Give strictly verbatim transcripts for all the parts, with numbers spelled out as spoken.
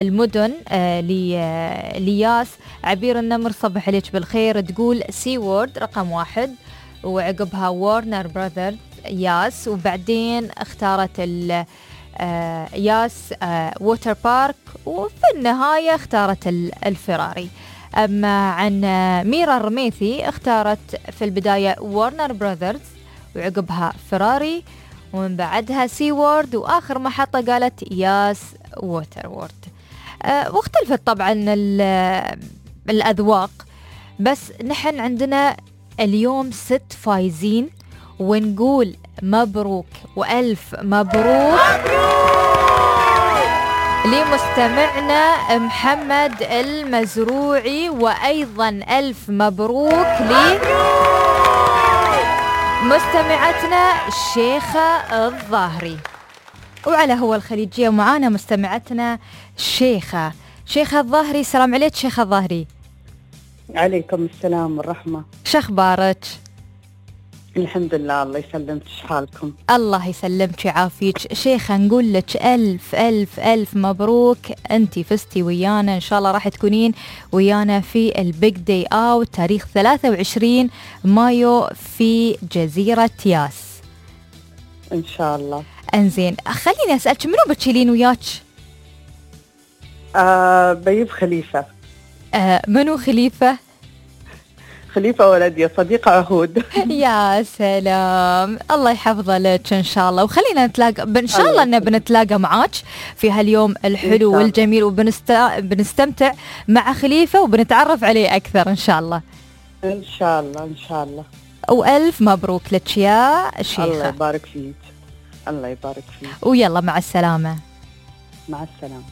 المدن آه لياس عبير النمر صبح عليك بالخير، تقول سي وورد رقم واحد، وعقبها وارنر براذرز ياس، وبعدين اختارت ال آه ياس آه ووتر بارك، وفي النهاية اختارت الفراري. أما عن آه ميرا الرميثي اختارت في البداية وارنر براذرز وعقبها فراري، ومن بعدها سي وورد، وآخر محطة قالت ياس ووتر وورد. أه واختلفت طبعا الأذواق، بس نحن عندنا اليوم ست فايزين، ونقول مبروك وألف مبروك, مبروك! لمستمعنا محمد المزروعي، وأيضا ألف مبروك لمستمعتنا الشيخة الظاهري. وعلى هو الخليجية معانا مستمعتنا شيخة شيخة الظاهري. السلام عليك شيخة الظاهري. عليكم السلام والرحمة. شخبارك؟ الحمد لله، الله يسلمك. شحالكم؟ الله يسلمك ويعافيك. شيخة نقول لك ألف ألف ألف مبروك، أنتي فزتي ويانا، إن شاء الله راح تكونين ويانا في البيج داي أوت تاريخ ثلاثة وعشرين مايو في جزيرة ياس إن شاء الله. انزين، خليني أسألك منو بتشيلين وياك؟ آه بيب خليفة. آه منو خليفة؟ خليفة ولدي صديقة عهود. يا سلام، الله يحفظه لك إن شاء الله. وخلينا نتلاقى إن شاء الله، إنه بنتلاقى معاك في هاليوم الحلو والجميل، وبنستمتع مع خليفة وبنتعرف عليه أكثر إن شاء الله. إن شاء الله إن شاء الله. وألف مبروك لك يا شيخة. الله يبارك فيك. الله يبارك فيك. ويلا مع السلامة. مع السلامة.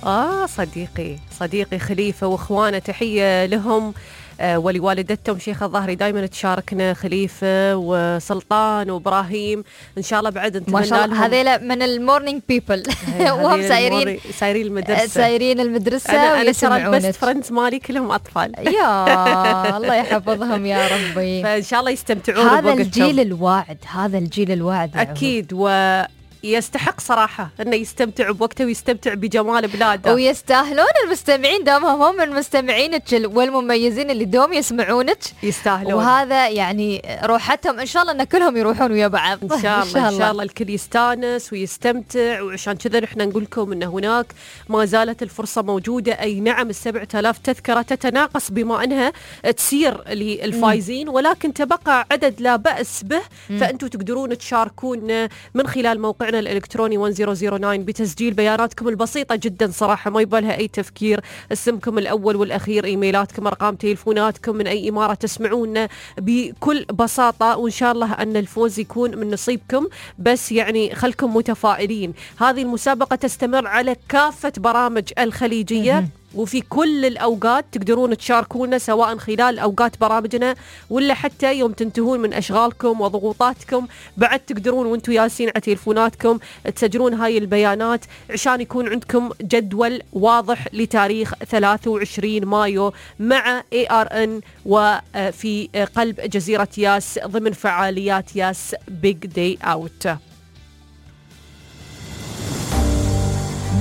آه صديقي صديقي خليفة وإخوانه، تحية لهم آه ولوالدتهم شيخة الظاهري. دايما تشاركنا خليفة وسلطان وإبراهيم، إن شاء الله بعد نتمنى ما شاء الله هذيلا من المورنينج بيبل وهم سايرين سايرين المدرسة سايرين المدرسة أنا أنا ترى البست فريندز مالي كلهم أطفال. يا الله يحفظهم يا ربي. فإن شاء الله يستمتعون. هذا الجيل الواعد، هذا الجيل الواعد أكيد، و يستحق صراحة أنه يستمتع بوقته ويستمتع بجمال بلاده، ويستاهلون المستمعين دومهم هم المستمعينك والمميزين اللي دوم يسمعونك، يستاهلون. وهذا يعني روحتهم، إن شاء الله أن كلهم يروحون ويا بعض. إن شاء الله إن شاء الله الكل يستانس ويستمتع. وعشان كذا نحن نقول لكم أن هناك ما زالت الفرصة موجودة. أي نعم السبعة آلاف تذكرة تتناقص بما أنها تسير للفايزين، ولكن تبقى عدد لا بأس به، فأنتم تقدرون تشاركون من خلال موقع الإلكتروني واحد صفر صفر تسعة بتسجيل بياناتكم البسيطة جدا صراحة، ما يبالها أي تفكير. اسمكم الأول والأخير، إيميلاتكم، أرقام تليفوناتكم، من أي إمارة تسمعونا بكل بساطة، وإن شاء الله أن الفوز يكون من نصيبكم. بس يعني خلكم متفائلين. هذه المسابقة تستمر على كافة برامج الخليجية وفي كل الأوقات تقدرون تشاركونا، سواء خلال أوقات برامجنا ولا حتى يوم تنتهون من أشغالكم وضغوطاتكم، بعد تقدرون وانتوا ياسين على تليفوناتكم تسجلون هاي البيانات عشان يكون عندكم جدول واضح لتاريخ ثلاثة وعشرين مايو مع إيه آر إن وفي قلب جزيرة ياس ضمن فعاليات ياس بيج داي أوت.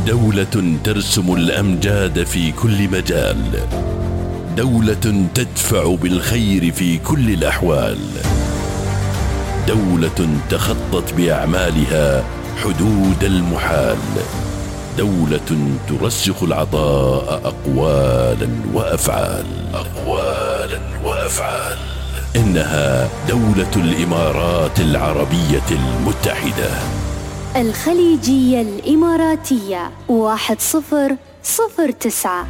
دولة ترسم الأمجاد في كل مجال، دولة تدفع بالخير في كل الأحوال، دولة تخطت بأعمالها حدود المحال، دولة ترسخ العطاء أقوالا وأفعال أقوالا وأفعال إنها دولة الإمارات العربية المتحدة. الخليجية الإماراتية واحد صفر صفر تسعة.